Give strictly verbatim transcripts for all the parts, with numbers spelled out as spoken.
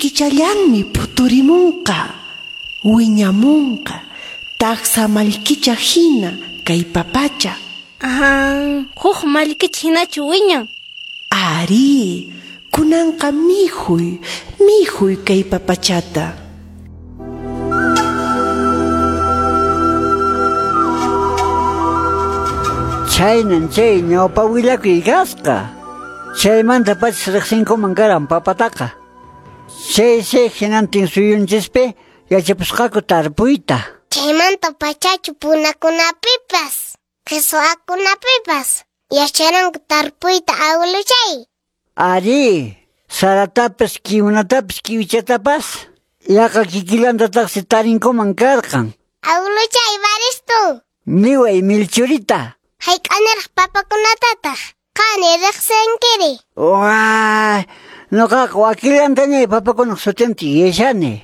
Kikichallanmi puturimunqa, wiñamunqa, taksa mallkicha hina kay papacha. Aha, huk mallkicha hinachu wiñan? Ari, kunanqa mijuy, mijuy kay papachata. Chaynan chay ñawpa willakuy kasqa. Chaymanta pachis riqsinkuman karan papataqa. Chaysi hinantin suyunchispi yachapusqaku tarpuyta. Chaymanta pachachu punakunapipas, qhiswakunapipas yacharanku tarpuyta awiluchay. Ari, saratapas, kiwnatapas, kiwichatapas yaqa kikillantataqsi tarinkuman karqan. Awiluchay, Baristu. Niway, Milchurita. Hayk'aniraq papakunatataq qani riqsinkiri. Waa, nuqaqa wakillantañay papakunaq sutinta yachani.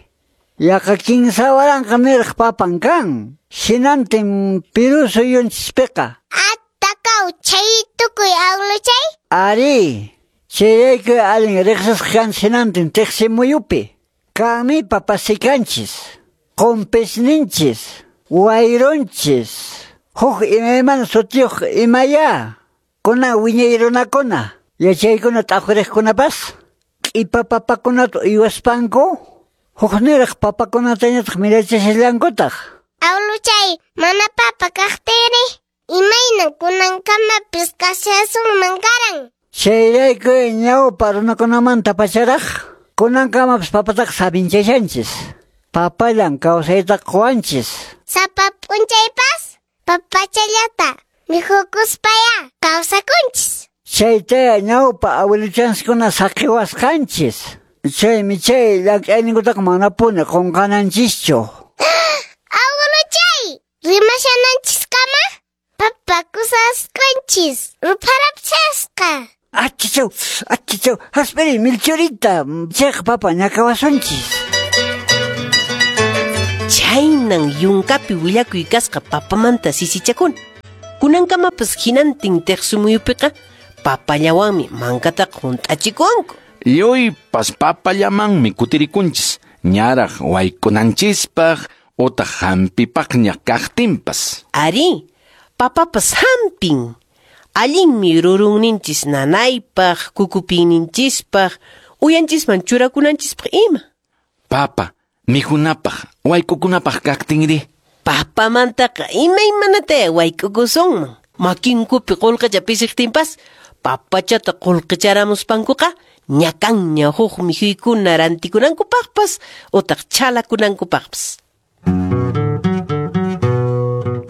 Yaqa kinsa waranqa niraq papan kan. Hinantin Perú suyunchispiqa. Attakaw chay tukuy awiluchay. Ari, chayrayku allin riqsisqa kan hinantin tiqsimuyupi. Kanmi papasikanchis, qumpisninchis, wayrunchis. Huk imaymana sutiyuq imaya. Kuna wiñay runakuna, yachaykuna t'aqwiriqkunapas, q'ipa papakunata uywaspanku, hukniraq papakunatañataq mirachishallankutaq. Awiluchay, mana papa kaqtiri, imaynan kunankamapis kashasunman karan. Chayrayku ñawpa runakunamanta pacharaq, kunankamapis papataqa sabinchashanchis. Papallan kawsayta quwanchis. Sapa p'unchaypas papachallata mikhukuspaya kawsakunchis. Chayta ñawpa awiluchanchiskuna saqiwasqanchis. Chaymi chay llank'ayninkutaqa manapuni qunqananchischu. Awiluchay, rimashananchiskama papakusasqanchis rupharapchasqa. Achichaw, achichaw, haspiri Milchurita, chayqa papa ñakawasunchis. Chaynan yunkapi willakuy kasqa papamanta sisichakuna. Kunankamapas hinantin tiqsimuyupiqa papallawanmi mankataqa hunt'achikuwanku. Lluypas papallamanmi kutirikunchis, ñaraq waykunanchispaq utaq hampipaqña kaqtinpas. Ari, papapas hampin. Allinmi rurunninchis nanaypaq, kukupiyninchispaq, uyanchisman churakunanchispaq ima. Papa, mikhunapaq, wayk'ukunapaq kaqtinri. Papamantaqa imaymanata wayk'ukusunman. Makinkupi qullqicha pisiqtinpas, papachata qullqicharamuspankuqa ñakanña huk mikhuykuna rantikunankupaqpas utaq chhalakunankupaqpas.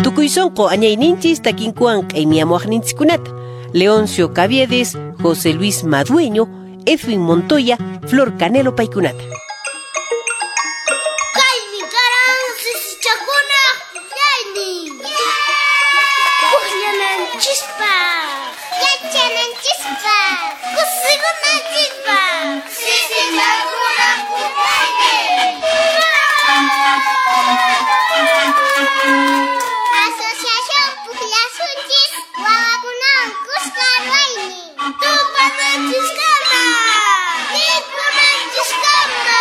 Tukuy sunqu añayninchis takinkuwan q'aymiyamuwaqninchikkunata. Leoncio Caviedes, José Luis Madueño, Edwin Montoya, Flor Canelo paykunata. Kaymi karan sisichakunaq puklaynin. Pukllananchispaq, yachananchispaq, kusikunanchispaq. Sisichakunaq puklaynin. Asociación Pukllasunchis wawakunawan kuska ruwaynin. Tupananchiskama, mikhunanchiskama.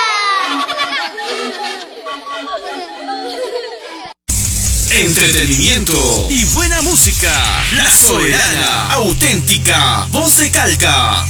Entretenimiento y buena música. La Soberana, auténtica, voz de Calca.